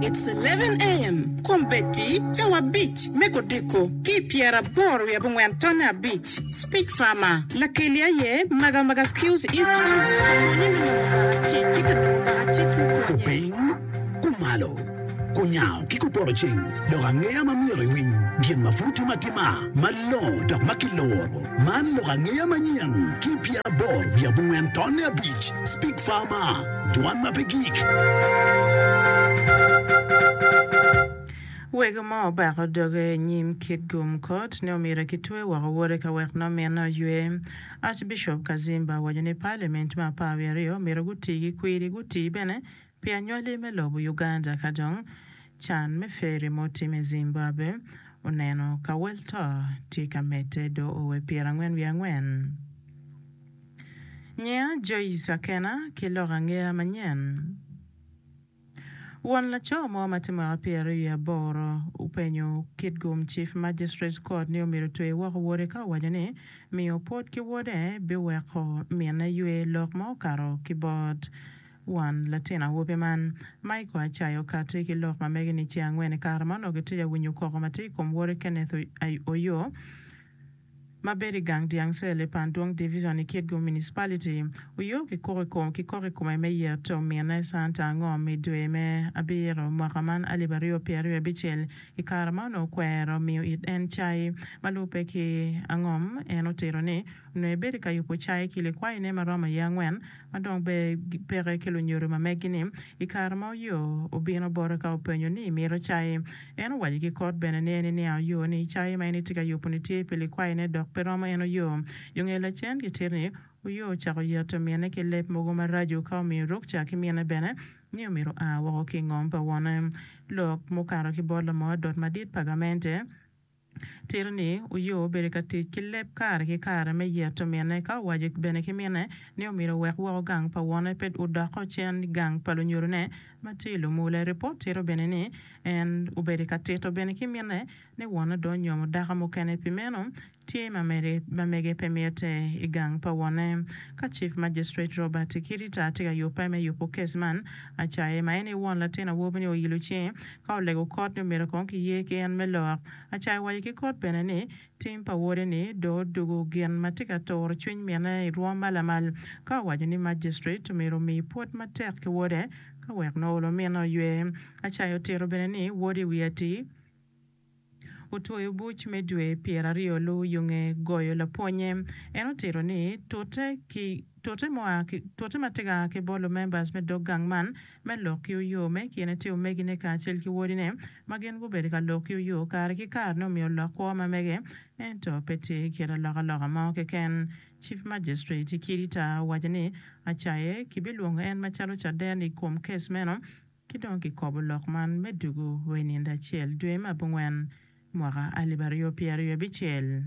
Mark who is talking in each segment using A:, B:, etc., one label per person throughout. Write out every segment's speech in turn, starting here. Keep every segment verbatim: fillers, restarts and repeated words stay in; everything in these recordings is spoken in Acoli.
A: It's eleven AM, Kombeddi, cawa abic me kodiko ki pyeraboro wiye abongwen tonne abic. Speak Farmer, Lakeli aye Magamaga Skills Institute, ka pwonye me nongo bakacic ki ka nongo bakacic me pwonye.
B: Kupiny, kumalo, kunyango ki kupoto ceng, lok angeya ma myero iwiny, gin ma pud timo atima, malongo dok ma kiloro. Man lok angeya manyen ki pyeraboro wiye abongwen tonne abic. Speak Farmer, dwan ma pe gik.
C: Wego mo obako doge i nyim Kitgum Court ni omyero kitwe woko wode ka wek nongo minne oywe. Archbishop Kazimba owaco ni Parliament me apar wiye aryo myero guti ki kwiri guti bene pi anywali me lobo Uganda ka dong can me ferry ma otimme i Zimbabwe oneno ka wel to tye ka medde do owe pyerangwen wiye angwen. Nyinga Joyce Akena ki lok angeya manyen. Won laco mo ma tye mwaka pyeraryo wiye aboro openyo Kitgum Chief Magistrates Court ni omyero otwe woko wode ka owaco ni miyo pwod ki wode biweko minne ywe lok ma okato ki bot won latin awobi man. Michael Acayo okati ki lok ma mege ni ceng angwen i kare ma onongo gitye ka winyo koko ma tye i kom wode Kenneth Oyo ma bedo i gang dyang cel i Pandwong Division i Kitgum Municipality, oyo kikoko i kome me yeto minne Santa Angom i dwe me abiro mwaka man alip aryo pyeraryo abicel i kare ma onongo okwero miyo it en cai. Ma lubbe ki Angom, en otito ni onongo ebedo ka yubo cai ki likwayine ma romo iye angwen ma dong peke ki lunyodo ma megi-ni. I kare ma Oyo obino bote ka openyo ni emito cai, en owaco ki kot bene ni en eniang Oyo ni cai ma en etye ka yubo-ni tye pi likwayine dok pe romo en Oyo. Yo nge lacen gitito ni Oyo ocako yeto mine ki leb mogo maraco ka omiyo rukca ki mine bene ni omyero oa woko ki i ngom pa wone. Lok mukato ki bot lamony adot madit pa gamente tito ni Oyo obedo ka tic ki leb kare ki kare me yeto mine ka owaco bene ki mine ni omyero owek woko gang pa wone pe odoko cen gang pa lunyodone ma tye i lumule. Ripot tito bene ni en obedo ka tito bene ki mine ni wone dong onyomo dako mukene pi meno tye ma mege pe mitte i gang pa wone. Ka Chief Magistrate Robert Kirita tye ka yubbe me yubo kes man, Acaye ma en aye won latin awobi-ni oilo cinge ka olego kot ni omyero kong kiye ki en me lok. Acaye owaco ki kot bene ni tim pa wode-ni dong odugo gin ma tye ka turo cwiny mine i rwom ma lamal ka owaco ni Magistrate omyero omi pwod matek ki wode ka wek nongo olo mine oywe. Acaye otito bene ni wode i wiye atir otwoyo buc me dwe pyeraryo lu yo nge goyo lapwonnye. En otito ni tute ki tute mua ki tute ma tye ka a ki bot lumembers me dog gang man me lok ki oyo me kine tye omegine kacel ki wodine ma gin gubedo ka lok ki oyo kare ki kare ni omiyo lok kwo ma mege ento pe tye kit alokaloka mo keken. Chief Magistrate Kirita owaco ni Acaye kibilwongo en macalo caden i kom kes meno ki dong kikobo lok man me dugu wa i nindo acel dwe me abongwen mwaka alip aryo pyeraryo abicel.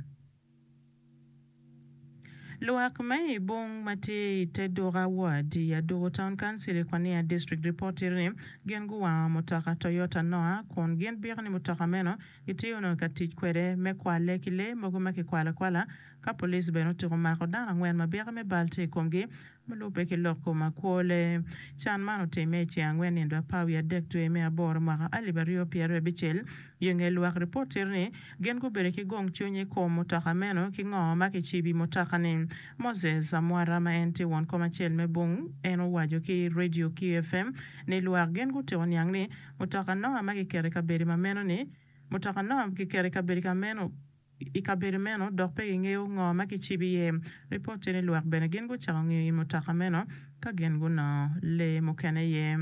C: Lwak me i bung ma tye i te duka ward i Aduku Town Council i Kwania District ripot tito ni gin guwango mutoka Toyota Noah kun gin biko ni mutoka meno gitye onongo ka tic kwede me kwale ki lee mogo ma kikwalo akwala ka police bene otuko mako dano angwen ma biko me bal tye i komgi ma lubbe ki lok kom akwole. Can man otimme i ceng angwen nindo apar wiye adek dwe me aboro mwaka alip aryo pyeraryo abicel. Yo nge lwak ripot tito ni gin gubedo ki gong cwiny i kom mutoka meno ki ngo ma kicibo i mutoka-ni. Moses Amwara ma en tye won kom acel me bung en owaco ki Radio Q F M ni lwak gin gutyeko niang ni mutoka Noah ma kiketo i kabedo ma meno ni mutoka Noah kiketo i kabedo ka meno i kabedo meno dok pe gingeyo ngo ma kicibo iye. Ripot tye ni lwak bene gin gucako ngiyo i mutoka meno ka gin gunongo lee mukene iye.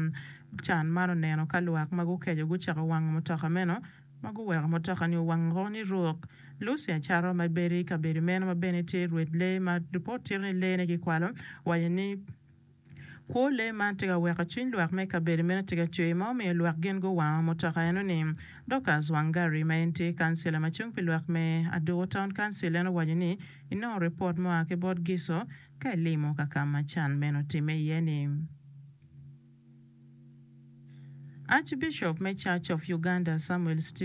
C: Can man oneno ka lwak ma gukeco gucako wango mutoka meno ma guweko mutoka-ni owang woko ni ruk. Lucy Acaro ma bedo i kabedo meno ma bene tye rwed lee ma ripot tito ni lee-ne kikwalo waco ni kwo lee man tye ka weko cwiny lwak me kabedo meno tye ka cwer ma omiyo lwak gin guwango mutoka eno-ni. Dorcas Wangari ma en tye kancila ma cung pi lwak me Aduku Town Council en owaco ni inongo ripot mua ki bot Giso ka ilimo ka ka ma can meno otimme iye-ni. Archbishop me Church of Uganda Samuel Stephen